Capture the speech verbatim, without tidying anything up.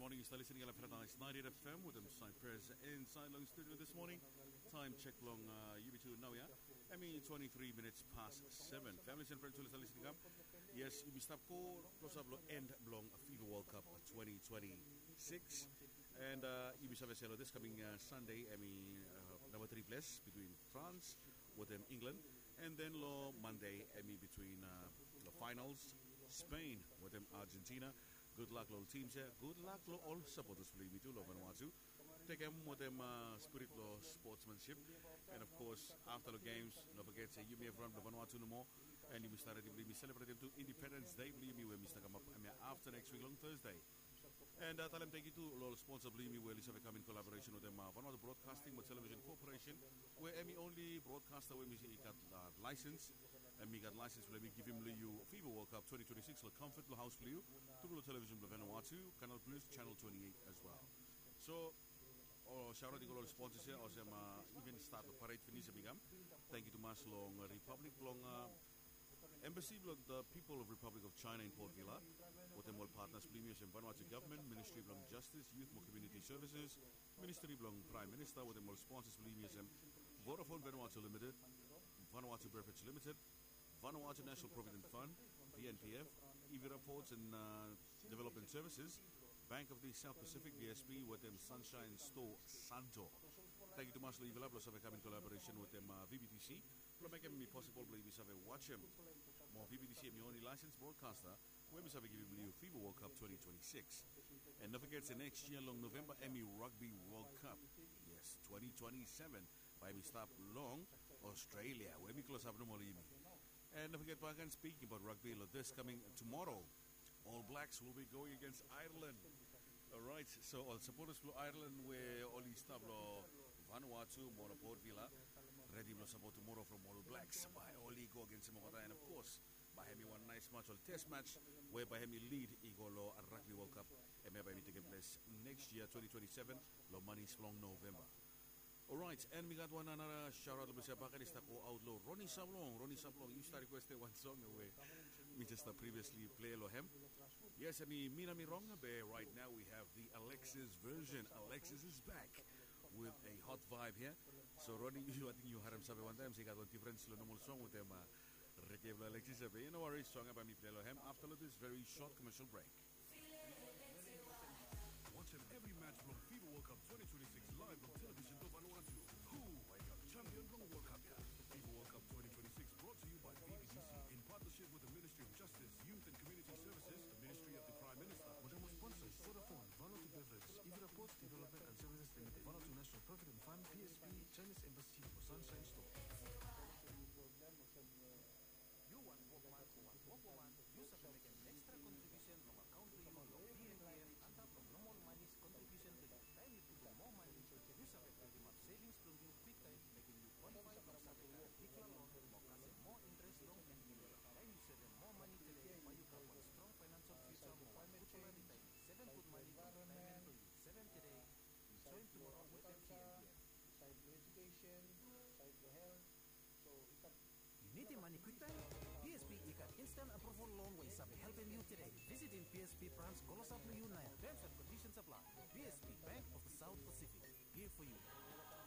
Moning, yu stap listening long Paradise ninety-eight F M wetem Cypress inside long studio this morning. Time check long uh, U B two now, yeah? Hemi twenty-three minutes past seven. Families and friends, yu stap listening up. Yes, yumi stap go klosap long end blong FIFA World Cup twenty twenty-six. And uh, yumi save se long this coming uh, Sunday, hemi uh, number three place between France wetem England. And then long Monday, hemi between uh, the finals, Spain wetem Argentina. Good luck long teams ya. Good luck long ol supporters blong yumi tu long Vanuatu. Tekem wetem uh, spirit long sportsmanship. And of course, after the games, no forget se yumi evriwan blong Vanuatu nomo. And yumi stap redi blong yumi celebrating tu Independence Day blong yumi we hemi stap kamap hemia after next week long Thursday. And uh, talem thank you tu long ol sponsor blong yumi we oli save kam in collaboration wetem uh, Vanuatu Broadcasting mo Television Corporation, we hemi only broadcaster we hemi gat uh, license. Hemi gat license blong hemi givim long yu FIFA World Cup twenty twenty-six long comfort blong haos blong yu, tru long television blong Vanuatu, Canal Plus, Channel twenty-eight as well. So, ol shoutout i go long ol sponsors ya olsem uh, even start long parade finis hemi kam. Thank you tumas long Republic blong uh, Embassy blong the People of Republic of China in Port Vila, wetem ol partners blong yumi olsem Vanuatu Government, Ministry blong Justice, Youth mo Community Services, Ministry blong Prime Minister, wetem ol sponsors blong yumi olsem Vodafone Vanuatu Limited, Vanuatu Beverage Limited, Vanuatu National Provident Fund, V N P F, Evira Ports and uh, Development Services, Bank of the South Pacific, V S P, wetem Sunshine Store Santo. Thank you tumas long yufala blong save kam in collaboration wetem uh, V B T C blong mekem hemi possible blong yumi save wajem mo V B T C hemi only license broadcaster we hemi save givim long yu FIFA World Cup twenty twenty-six. And no forget se next year long November hemi Rugby World Cup. Yes, twenty twenty-seven. Bae hemi stap long Australia we hemi klosap nomo long yumi. And no forget back and speaking about rugby long this coming tomorrow, All Blacks will be going against Ireland. Alright, so ol supporters blong Ireland we oli stap long Vanuatu mo long Port Vila, redi blong support tomorrow from All Blacks. Bae oli go against olgeta, and of course bae hemi wan nice match, ol test match we bae hemi lead i go long Rugby World Cup. Hemia bae hemi tekem ples next year twenty twenty-seven long manis blong November. Alright, and mi gat wan another shoutout long mi se baken i stap go out long Ronnie Sablong. Ronnie Sablong, yu stap requestem wan song we mi jes stap previously play long hem. Yes, hemi mi na mi rong, be right now we have the Alexis version. Alexis is back with a hot vibe here. So Ronnie, yu ating yu harem save wan taem se i gat wan difference long normal song wetem uh, reggae blong Alexis ya, be no worries, song ya bae mi play long hem after long this very short commercial break. Wajem evri match blong FIFA World Cup twenty twenty-six live long television blong Vanuatu. Who bae i kam champion blong World Cup ya? FIFA World Cup twenty twenty-six brought to you by V B T C in partnership with the Ministry of Justice, Youth and Community Services, the Ministry of the Prime Minister, wetem ol sponsors Vodafone, Vanuatu Beverage, Evira Ports Development and Services Limited, Vanuatu National Provident Fund, V S P, Chinese Embassy mo Sunshine Store. Yu wan wokman o wan wokwoman, yu save mekem extra kontribiusen long akaon blong yu long P N P F antap long normal manis kontribiusen blong yu. Taem yu putum moa mani, yu save buildimap sevings blong yu kwiktaem, mekem yu kwalifai blong save karem bigfala lon mo kasem moa intres long en. Taem yu sevem moa mani tede, bae yu gat wan strong faenansol fiuja mo wan gudfala ritaemen. Sevem gud mani blong ritaemen blong yu. Sevem tede, enjoem tumoro wetem P N P F. Yu nidim mani kwiktaem? P S B i gat instant approval loan we i save helpem yu tede. Visitim P S B branch klosap long yu naoia. Terms and conditions apply. P S B, Bank of the South Pacific, here for you.